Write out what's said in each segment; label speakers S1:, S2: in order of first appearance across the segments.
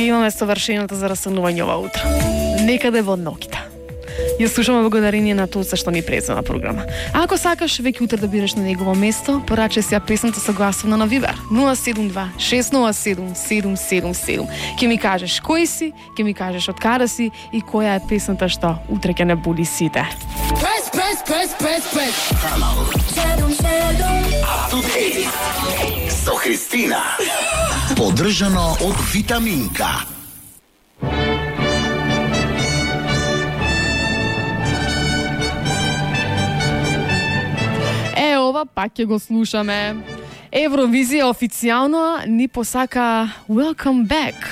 S1: Ги имаме совршеното за растанување ова утро. Некаде во ноќта. Ја слушаме благодарение на тоа што ни презема програма. А ако сакаш веќе утре да бидеш на негово место, порачај си ја песната согласувано на Вибер 072 607 777. Ќе ми кажеш кој си, ќе ми кажеш од каде си и која е песната што утре ќе не буди сите.
S2: Со Христина. Поддржано од Витаминка.
S1: Ова пак ќе го слушаме. Евровизија официјално ни посака Welcome Back.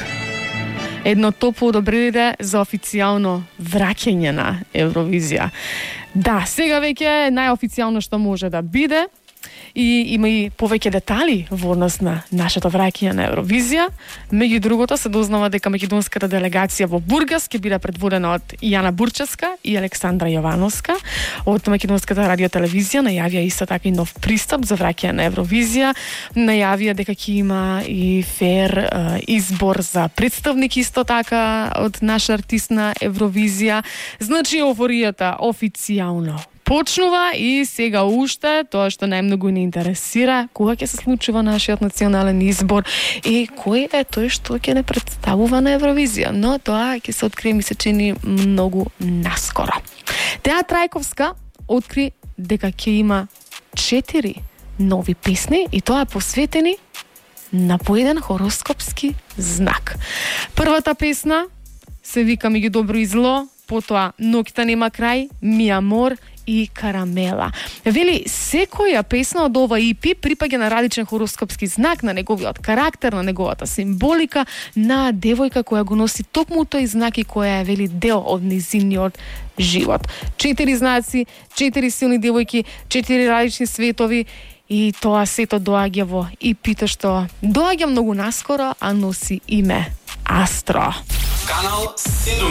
S1: Едно топло одобрение за официјално враќање на Евровизија. Да, сега веќе најофицијално што може да биде. И има и повеќе детали во однос на нашето враќање на Евровизија. Меѓу другото се дознава дека македонската делегација во Бургас ќе биде предводена од Јана Бурчевска и Александра Јовановска. Од македонската радиотелевизија најавија исто така и нов пристап за враќање на Евровизија. Најавија дека ќе има и фер избор за представник исто така од наш артист на Евровизија. Значи еуфоријата официјално почнува и сега уште тоа што најмногу не интересира, кога ќе се случува нашиот национален избор и кој е тој што ќе не представува на Евровизија. Но тоа ќе се открие, ми се чини, многу наскоро. Теа Трајковска откри дека ќе има 4 нови песни и тоа посветени на поеден хороскопски знак. Првата песна се вика Меѓу добро и зло, потоа Ноќта нема крај, Ми амор и Карамела. Вели, секоја песна од ова EP припаѓа на различен хороскопски знак, на неговиот карактер, на неговата символика, на девојка која го носи токму тој знак и која е, вели, дел од незиниот живот. 4 знаци, 4 силни девојки, 4 различни светови и тоа сето доаѓа во EP-то што доаѓа многу наскоро, а носи име Астро.
S2: Канал 7.